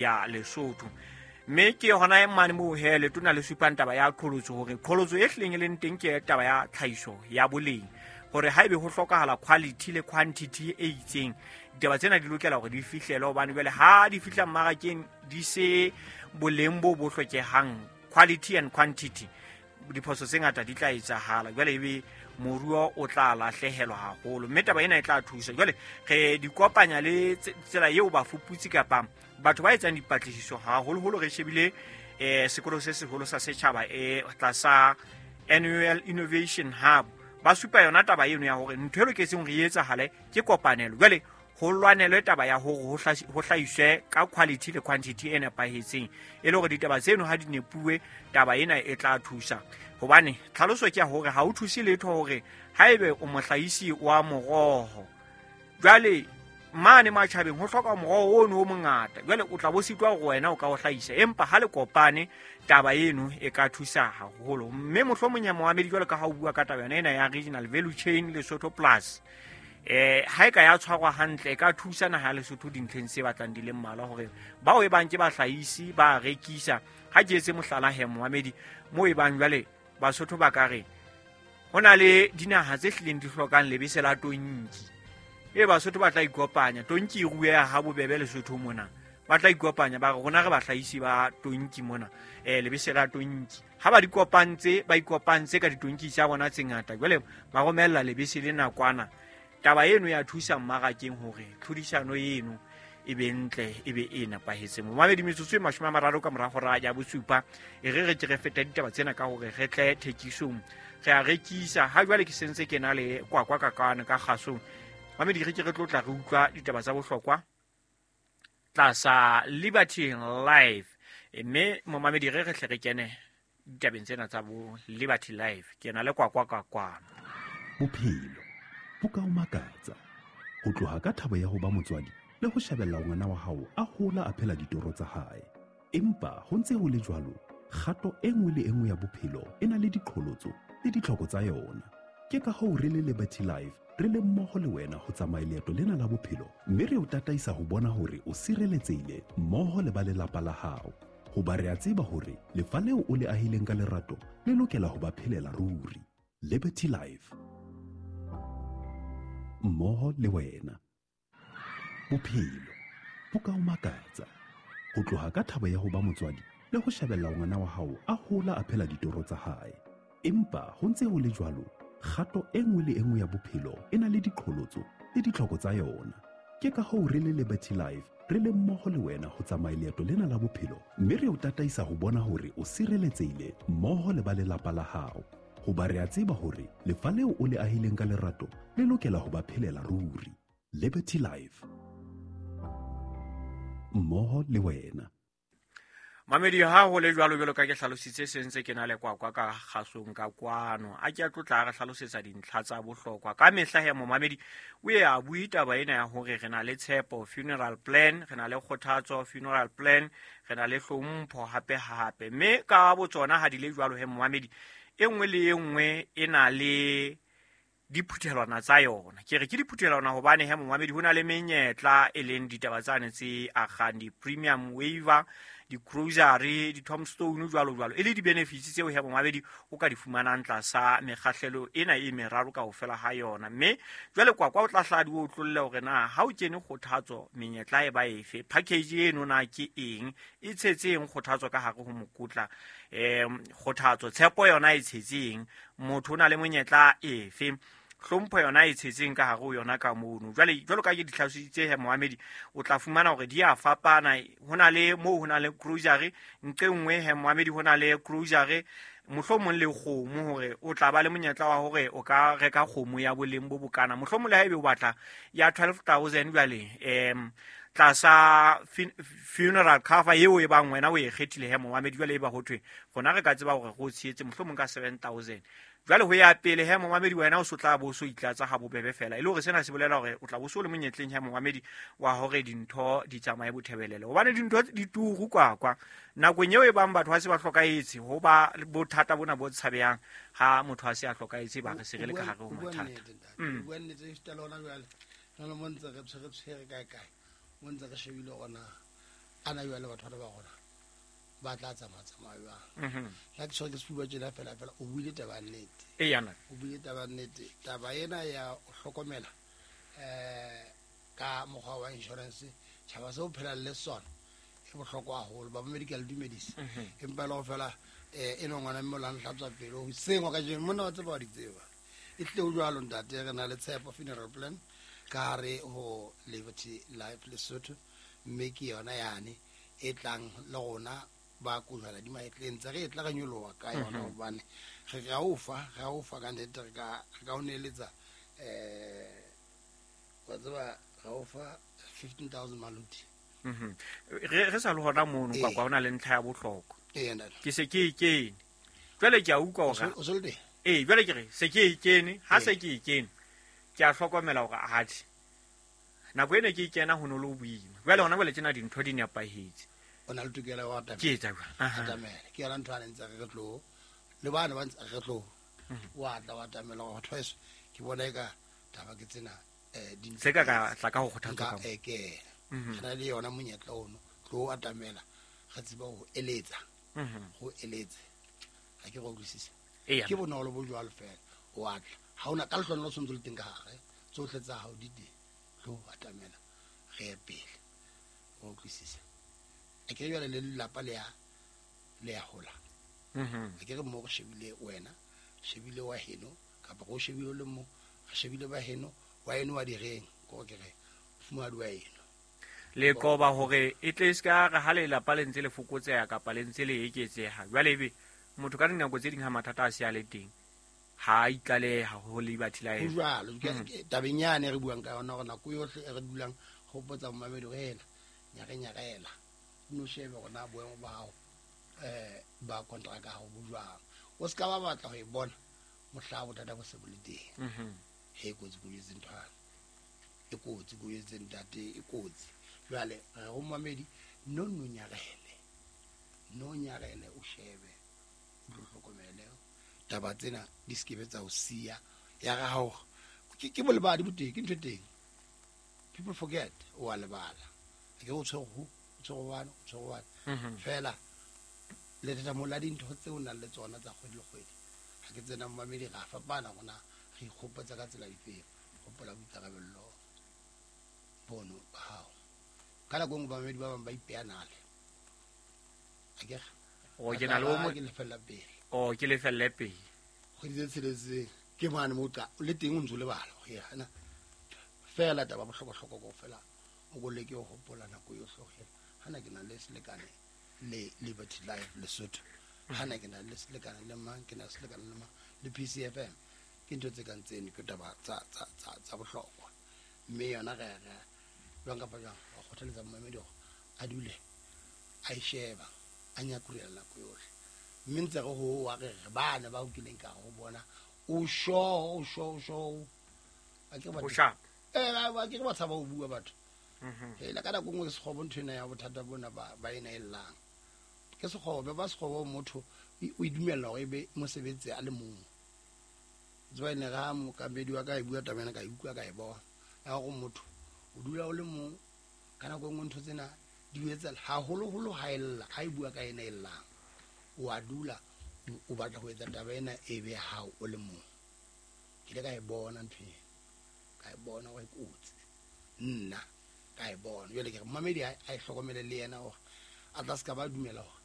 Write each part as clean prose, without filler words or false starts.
Ya Lesotho. Mme ke hona mane moo he letona le supang taba ya qholotso, hore qholotso e hlileng e leng teng ke taba ya tlhahiso ya boleng, hore haebe ho hlokahala quality le quantity e itseng, ditaba tsena di lokela hore di fihlelwe, hobane jwale ha di fihla mmarakeng di se boleng bo bo hlokehang, quality and quantity, diphoso tse ngata di tla etsahala, jwale ebe moruo o tla lahlehelwa haholo. Mme taba ena e tla thusa. Jwale re di kopanya le tsela eo bafuputsi kapa batho ba etsang dipatlisiso, haholoholo re shebile sekolo se seholo sa setjhaba tlasa Annual Innovation Hub, ba supa yona taba eno ya hore ntho e loketseng hore e etsahale ke kopanelo. Jwale ho lwanelwe taba ya hore ho hlahiswe ka quality le quantity e nepahetseng, e le hore ditaba tseno ha di nepuwe, taba ena e tla thusa. Hobane tlhaloso ke ya hore ha o thuse letho hore haebe o mohlahisi wa moroho, jwale mane matjhabeng ho hloka moroho ono o mongata, jwale o tla bo sitwa hore wena o ka o hlahisa. Empa ha le kopane, taba eno e ka thusa haholo. Mme mohlomong ya moamedi, jwalo ka ha o bua ka taba yona ena ya regional value chain Lesotho Plus, ha e ka ya tshwarwa hantle, e ka thusa naha ya Lesotho dintlheng tse batlang di le mmalwa, hore bao e bang ke bahlahisi ba rekisa. Ha ke etse mohlala he moamedi, moo e bang jwale Basotho ba ka re ho na le dinaha tse hlileng di hlokang lebese la tonki, e Basotho ba tla ikopanya. Tonki e rueha ha bobebe Lesotho mona. Ba tla ikopanya ba re rona re bahlahisi ba tonki mona, lebese la tonki. Ha ba di kopantse, ba ikopantse ka ditonki tsa bona tse ngata, jwale ba romella lebese le nakwana. Taba eno ya thusa mmarakeng hore tlhodisano eno e be ntle, e be e nepahetseng. Momamedi, metsotso e 30 ka mora hora ya bosupa, e re re ke re feta ditaba tsena ka hore re tle thekisong, re a rekisa. Ha jwale ke sentse ke na le kwakwa ka kwano ka kgasong. Mamedi, re ke re tlo tla re utlwa ditaba tsa bohlokwa tlasa Liberty Life. Mme momamedi, re re hle re kene ditabeng tsena tsa bo Liberty Life. Ke na le kwakwa ka kwano. Bophelo bo ka o makatsa, ho tloha ka thabo ya ho ba motswadi le ho shebella ngwana wa hao a hola a phela ditoro tsa hae. Empa ho ntse ho le jwalo, kgato e nngwe le e nngwe ya bophelo e na le diqholotso le ditlhoko tsa yona. Ke ka hoo re le Liberty Life re le mmoho le wena ho tsamaya leeto lena la bophelo, mme re o tataisa ho bona hore o sireletsehile mmoho le ba lelapa la hao. Hoba re a tseba hore lefa leo o le ahileng ka lerato le lokela ho ba phelela ruri. Liberty Life, mmoho le wena. Bophelo bo ka o makatsa, ho tloha ka thabo ya ho ba motswadi le ho shebella ngwana wa hao a hola a phela ditoro tsa hae. Empa ho ntse ho le jwalo, kgato e nngwe le e nngwe ya bophelo e na le diqholotso le ditlhoko tsa yona. Ke ka hoo re le Liberty Life re le mmoho le wena ho tsamaya leeto lena la bophelo, mme re o tataisa ho bona hore o sireletsehile mmoho le ba lelapa la hao. Hoba re a tseba hore lefa leo o le ahileng ka lerato le lokela ho ba phelela ruri. Liberty Life, mmoho le wena. Mamedi, ha ho le jwalo, jwalo ka ke hlalositse, sentse ke na le kwakwa ka kgasong ka kwano, a ke a tlotla re hlalosetsa dintlha tsa bohlokwa. Ka mehla he momamedi o ye a bue taba ena ya hore re na le Tshepo funeral plan, re na le Kgothatso funeral plan, re na le Hlompho hape hape. Mme ka botsona ha di le jwalo he momamedi, e nngwe le e nngwe e na le diphuthelwana tsa yona. Ke re ke diphuthelwana hobane he momamedi ho na le menyetla, e leng ditaba tsane tse akgang di-premium waiver, di-grocery, di-tombstone, jwalo jwalo, e le di-benefits tseo he momamedi o ka di fumanang tlasa mekgahlelo ena e meraro kaofela ha yona. Mme jwale kwakwa o tla hla di o tlolle hore na ha o kene Kgothatso menyetla e ba efe, package eno na ke eng, e tshetseng Kgothatso ka hare ho mokotla, Kgothatso. Tshepo yona e tshetseng, motho o na le monyetla efe, Hlompho yona e tshetseng ka hare ho yona ka mono. Jwale jwalo ka ke di hlalositse he moamedi, o tla fumana hore di a fapana. Ho na le moo ho na le grocery nqe nngwe he moamedi, ho na le grocery mohlomong le kgomo, hore o tla ba le monyetla wa hore o ka reka kgomo ya boleng bo bokana, mohlomong le haebe o batla ya 12 000. Jwale tlasa funeral cover eo e bang wena o e kgethile he momamedi, jwale e ba ho thwe rona re ka tseba hore re o tshehetse mohlomong ka 7000. Jwale ho ya pele he momamedi, wena o so tla bo so itlatsa ha bobebe fela, e le hore sena se bolela hore o tla bo so le monyetleng he momamedi wa hore dintho di tsamaye bothebelele, hobane dintho di turu kwakwa. Nakong eo e bang batho ha se ba hlokahetse, ho ba bothata bona bo tshabehang ha motho a se a hlokahetse, ba re se re le ka hare ho mathata. Bua nnete, esita le hona jwale jalo mo ntse re tshwere kae kae, mo ntse re shebile gona. Ana jwale batho bana ba rona ba tla tsamaya jwang? La ke tshwere ke sefuba tjena fela fela, o buile taba ya nnete. O buile taba ya nnete. Taba ena ya ho hlokomela ka mokgwa wa insurance, tjhaba seo o phelang le sona e bohlokwa haholo. Ba medical dumedisa, empa le ho fela e no ngwana mme o la nhlatswa pelo hoseng wa kajeno, monna wa tseba wa di tseba. E tlile ho jwalo ntate, re na le Tshepo Funeral Plan ka hare ho Liberty Life Lesotho, mme ke yona yane e tlang le rona ba kojwana di mahetleng tse re e tla re nyoloha ka yona, hobane re ka o fa, re o fa ka nnete, re ka o neeletsa wa tseba, re o fa 15,000 maluti. Re sa le hona mono kwa hona le ntlha ya bohlokwa. Ke se ke e kene jwale, ke a utlwa hore o se le teng. Jwale ke re se ke e kene, ha se ke e kene ke a hlokomela hore atjhe nako ene ke e kena ho no le boima. Jwale hona jwale tjena dintho di nepahetse. O na le tokelo ya ho atamela. Ke etsa jwang? Atamela. Ke yona ntho a ntse re tlo le bana ba ntse re tlo wa tla wa atamela hore batho heso ke bona eka taba ke tsena di se ka ka tla ka ho kgothatsa ka ekela. Re na le yona monyetla ono tlo atamela, re tseba ho eletsa. Ho eletse. Ha ke go utlwisisa. Ke bonolo bo jwalo fela. O atla. Ha ona ka lehlonolo o tshwanetse le teng ka hare. Tsohle tsa hao di teng. Tlo atamela re ye pele. O utlwisisa. A ke jwale le lelapa le ya hola. A ke re mo re shebile wena, shebile wa heno, kapa go shebile le mo, re shebile ba heno, wa heno wa direng, ko ke re fumadi wa heno. Le qoba hore e tle se ka re ha lelapa le ntse le fokotseha kapa le ntse le eketseha. Jwale ebe motho ka dinako tse ding ha mathata a se a le teng, ha a itlaleha ho Liberty Life. Ho jwalo, tabeng yane re buang ka yona hore nako yohle e re dulang hopotsa momamedi hore hela, nyare-nyarela. No shebe hore na boemo ba hao ba kontraka ya hao bo jwang. O se ka ba batla ho e bona mohla bothata bo se bo le teng. He kotsi ko jwetse nthwana, e kotsi ko jwetse ntate, e kotsi. Jwale re ho momamedi, no no nyarele, no nyarele, o shebe, o tlo hlokomele taba tsena di se ke be tsa o siya. Ya ga hao ke bolebadi bo teng, ke ntho e teng. People forget, o a lebala. Ke o tshwere ho, o tshwere wane, o tshwere wane. Fela le thata la dintho tseo o nang le tsona tsa kgwedi le kgwedi. Ha ke tsena momamedi ra fapana rona, re ikgopotsa ka tsela difeng. Hopola boikarabello bono ba hao. Ka nako e nngwe bamamedi ba bang ba ipeha nale. Akere? O ke na le o mo ke lefella pele. O ke lefelle pele. Kgwedi tse tsheletseng ke mane mo ka le teng o ntso lebala ho ya na. Fela taba bohlokwa-hlokwa kaofela o ko leke ho hopola nako yohle hore hana ke na le selekane le Liberty Life Lesotho, hana ke na le selekane le mang, ke na le selekane le mang le PCFM. Ke ntho tse kang tseno, ke taba tsa bohlokwa. Mme yona re jwang kapa jwang wa kgothaletsa momamedi hore a dule a e sheba, a nyakurela nako yohle. Mme ntse re ho wa re re bana ba o kileng ka ho bona o sho o sho o sho. A ke ba o sharp. Ba ke ba tshaba ho bua batho. Hela ka nako nngwe ke sekgobo ntho ena ya bothata bona ba ena e llang. Ke sekgobo, ba sekgobo motho o e dumella hore e be mosebetsi a le mong. Tseba ene ga mokamedi wa ka e bua taba ena ka e utlwa ka e bona. Ya hore motho o dula o le mong ka nako nngwe ntho tsena di o etsa haholoholo ha e lla, ha e bua ka ena e llang. O a dula o batla ho etsa taba ena e be hao o le mong. Ke ile ka e bona ntho ena. Ka e bona hore e kotsi. Nna ka e bona. Jwale ke re momamedi a e hlokomele le yena hore a tla se ka ba dumela hore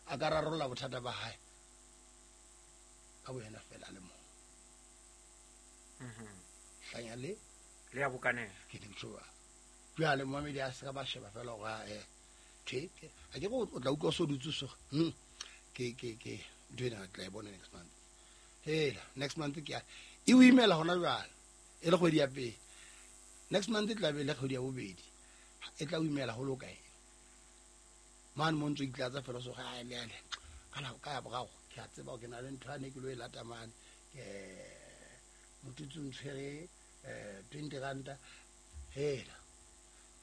a ka rarolla bothata ba hae ka boyena fela a le mong. Hlanya le le ya bokanela. Ke ne ke tjho jwalo. Jwale momamedi a se ka ba sheba fela hore tjhe, a ke re o tla utlwa o so dutse so. Ke ntho ena re tla e bona next month. Hela, next month ke ya e o imela hona jwale. E le kgwedi ya pele. Next month e tla be le kgwedi ya bobedi. E tla o imela ho loka eng. Mane mo ntso itlatsa fela so ga le ale. Ka nako ka ya boraro ke a tseba hore ke na le ntho ane ke lo e lata mane. Ke motutsi o ntshwere 20 ranta. Hela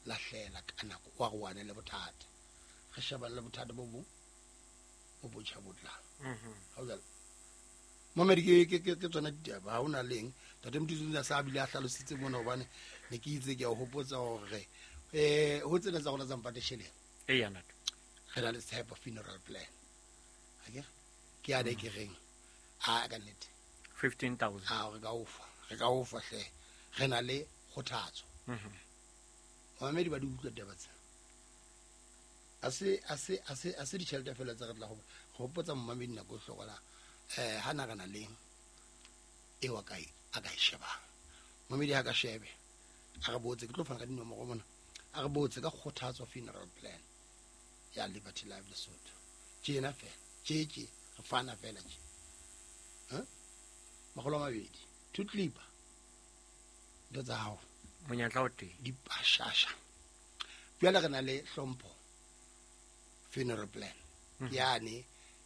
lahlela ka nako wa re wane le bothata. Re shebane le bothata bo bong bo botjha bo tlang. Ha o jwalo. Momedi ke tsona ditaba, ha hona leng. Ntate Motutsi o sa bile a hlalositse mona hobane ne ke itse ke a o hopotsa hore ho tsena tsa rona tsa mpate sheleng. Eya ntate. Re na le tshepo funeral plan. Akere ke ya ke reng a ka nnete 15,000. A re ka ofa, re ka ofa hle. Re na le kgothatso. Mamedi ba di utlwa taba tse. A se ditjhelete fela tse re tla go hopotsa momamedi nako e hlokola ha na re na le e wa kae a ka e shebang. Momamedi ha ka shebe a re botse ke tlo fana ka dinomoro mona. A re botse ka kgothatso funeral plan ya Liberty Life Lesotho. Tjena fela, tje re fana fela tje. 200 two clipper. Ntho tsa hao. Monyetla o teng. Di pashasha. Jwale re na le hlompho funeral plan. Yane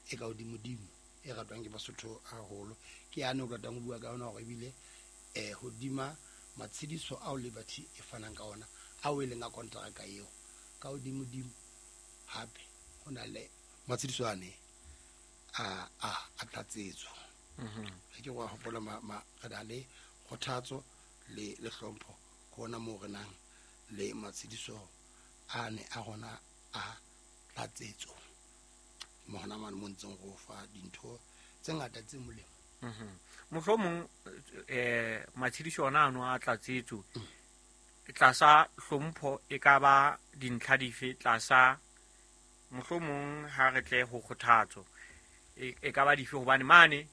e ka hodimodimo e ratwang ke Basotho haholo. Ke yane o ratang ho bua ka yona hore ebile hodima matshediso ao Liberty e fanang ka ona ao e leng a kontraka eo ka hodimodimo hape ho na le matshediso ane a tlatsetso. Ke go hopola ma re na le kgothatso le hlompho ke ona moo re nang le matshediso ane a rona a tlatsetso. Mo hona mane mo ntseng go fa dintho tse ngata tse molemo. Mohlomong matshediso ona ano a tlatsetso tlasa hlompho e ka ba dintlha dife tlasa mohlomong ha re tle ho kgothatso e ka ba dife hobane mane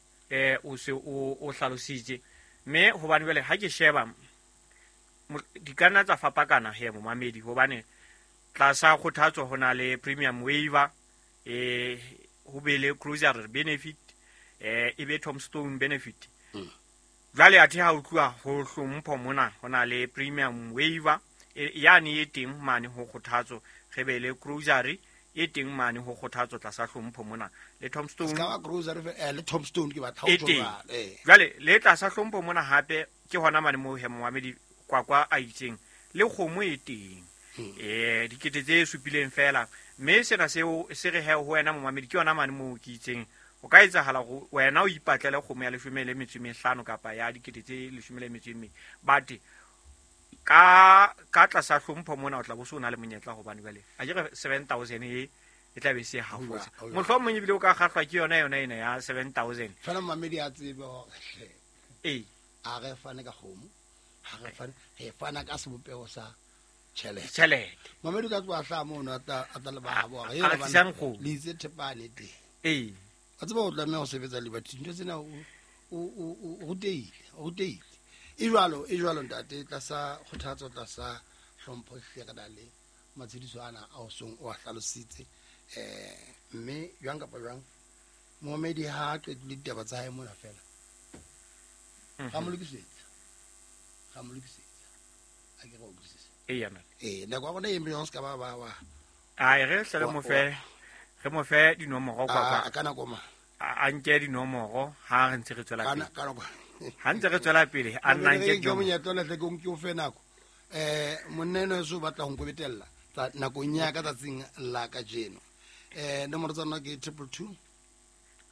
o se o hlalositse mme hobane jwale ha ke sheba di ka nna tsa fapakana he momamedi hobane tlasa kgothatso ho na le premium waiver ho be le cruiser benefit e be tombstone benefit. Jwale athe ha o tluwa ho hlompho mona ho na le premium waiver yane e teng mane ho kgothatso re be le cruiser e teng mane ho kgothatso tlasa hlompho mona le tombstone ska cruiser le tombstone ke batla ho tloba jwale le tlasa hlompho mona hape ke hona mane mo he momamedi kwakwa a itseng le kgomo e teng dikete tse supileng fela mme sena seo se re he ho wena momamedi ke yona mane mo ke itseng o ka etsahala go wena o ipatlele kgomo ya 15 kapa ya dikete tse 12 but ka tlasa hlompho mona o tla bo se o na le monyetla hobane jwale a ke re 7,000 e tla be se hafotse mohlomong ebile o ka kgahlwa ke yona ena ya 7,000 fela momamedi a tsebe hore a re fane ka kgomo ha re fane re fana ka sebopeho sa tjhelete momamedi ka tloha hlaha mono a tla le ba habo hore le itse thepane teng a tseba o tlameha ho sebetsa Liberty ntho tsena o rutehile e jwalo ntate tlasa kgothatso tlasa hlompho hle re na le matshediso ana a o song o a hlalositse mme jwang kapa jwang momamedi ha a qetile ditaba tsa hae mona fela ra mo lokisetsa a ke re o utlwisise nako ya rona e eme se ka ba ai re hle re mo fe dinomoro kwa ka nako ma a nke dinomoro ha re ntse re tswela pele ka nako ha ntse re tswela pele a nna nke ke monyetla le tle ke o fe nako monna eno so batla ho nkobetella nakong ya ka tsatsing la kajeno nomoro tsa rona ke 222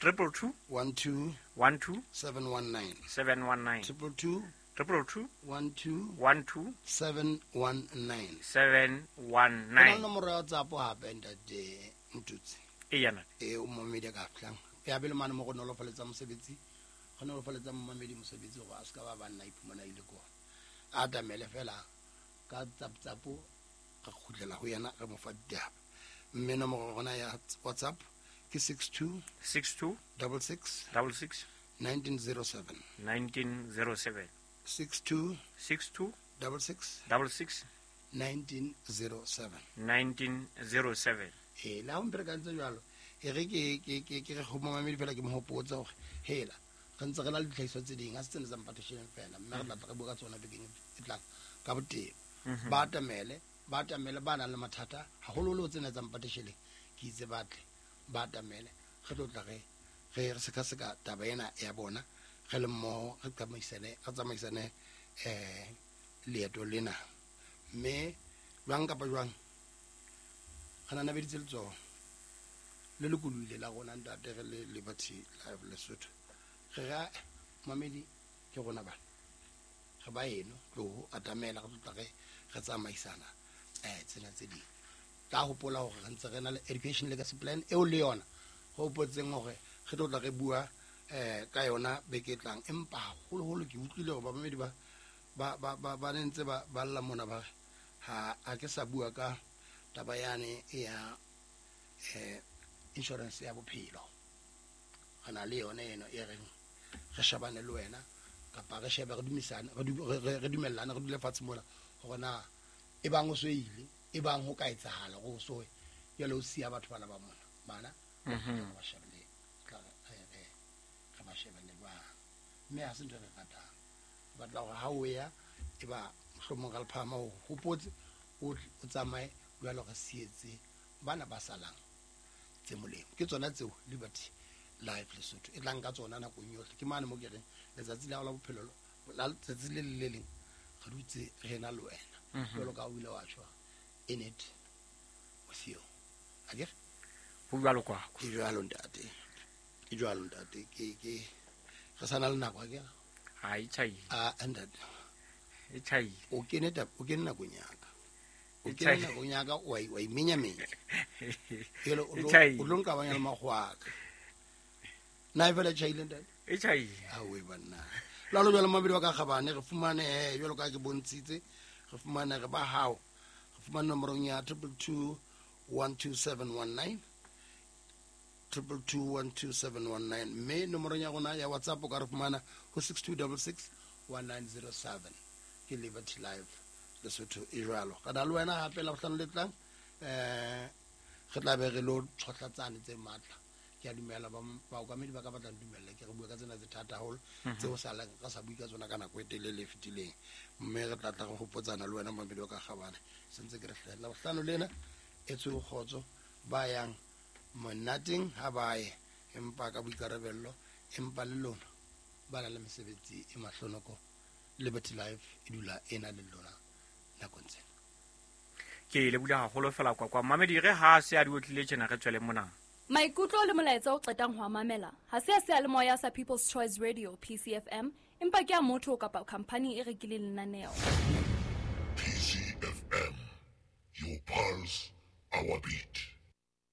222 12 12 719 719 222 222 12 12 719 719 nomoro ya WhatsApp hape ntate Mtutsi yana o momedi ka fihlang ya bele mane mo go nolofaletsa mosebetsi go nolofaletsa momamedi mosebetsi go a se ka ba banna iphumana ile ko a tamele fela ka tsaptsapo re kgutlela ho yena re mo fa ditaba mme nomoro rona ya WhatsApp ke 62 62 66 66 1907 1907 62 62 66 66 1907 1907 la ho mperekantse jwalo e re ke re go momamedi fela ke mo hopotsa hore hela re ntse re na le ditlhahiso tse ding ha se tsena tsa mpatasheng fela mme re tla re bua ka tsona bekeng e tlang ka botebo ba atamele ba nang le mathata haholoholo tsena tsa mpatasheng ke itse batle ba atamele re tlo tla re sekaseka taba ena ya bona re le mmoho re tsamaisane leeto lena mme jwang kapa jwang re nanabeditse letsoho le lokolohile la rona ntate re le Liberty Life Lesotho re ra mamedi ke rona bana re ba eno tlo atamela re tlo tla re tsamaisana tsena tse ding Tla hopola hore re ntse re na le education legacy plan eo le yona re hopotseng hore re tlo tla re bua ka yona beke e tlang. Empa haholoholo ke utlwile hore bamamedi ba ne ntse ba lla mona ba re ha ke sa bua ka taba yane ya insurance ya bophelo. Re na le yone eno e reng re shebane le wena kapa re shebe re dumisane re dumellane re dule fatshe mona hore na e bang o so ile e bang ho ka etsahala go so jwale o siya batho bana ba mona bana ba shebele re ba shebele jwang. Mme ha se ntho e re ratang, re batla hore ha o ya e ba mohlomong ra le phahama o hopotse o tsamaye jwale re sietse bana ba salang tse molemo. Ke tsona tseo Liberty Life Lesotho e tlang ka tsona nakong yohle. Ke mane mo ke reng letsatsi la hao la bophelo la letsatsi le le leng re dutse re na le wena jwalo ka o ile wa tjho in it with you. Akere ho jwalo kwa ke jwalo ntate, ke jwalo ntate, ke re sana le nako akere ha e tjhaile a ntate e tjhaile o kene o kene nakong ya ka o kene nakong ya ka wa imenyamenya jwale o tlo nkabanya le makgowa a ka. Na e fela tjhaile ntate? E tjhaile. Awe banna. Lalo jwale mabedi wa ka kgabane re fumane jwalo ka ke bontshitse re fumane re ba hao re fumane nomorong ya 222 12719 222 12719 mme nomorong ya rona ya WhatsApp o ka re fumana ho 6266 1907. Ke Liberty Life Lesotho e jwalo. Ka na le wena hape la bohlano le tlang re tla be re lo tshohlatsane tse matla. Ke a dumela baokamedi ba ka batlang dumella ke re bua ka tsena tse thata haholo tseo salang re sa bue ka tsona ka nako e telele e fetileng. Mme re tla tla re hopotsana le wena mamedi wa ka kgabane sentse ke re hlahella bohlano lena e tswe kgotso ba yang monateng ha ba ye empa ka boikarabello empa le lona ba na le mesebetsi e mahlonoko. Liberty Life e dula e na le lona nakong tsena. Ke le bula haholo fela kwa mamedi re ha se a di otlile tjena re tswele mona. Maikutlo le molaetsa o qetang ho mamela ha se a seyalemoya sa People's Choice Radio PCFM empa ke a motho kapa company e rekileng lenaneo. PCFM, your pulse, our beat.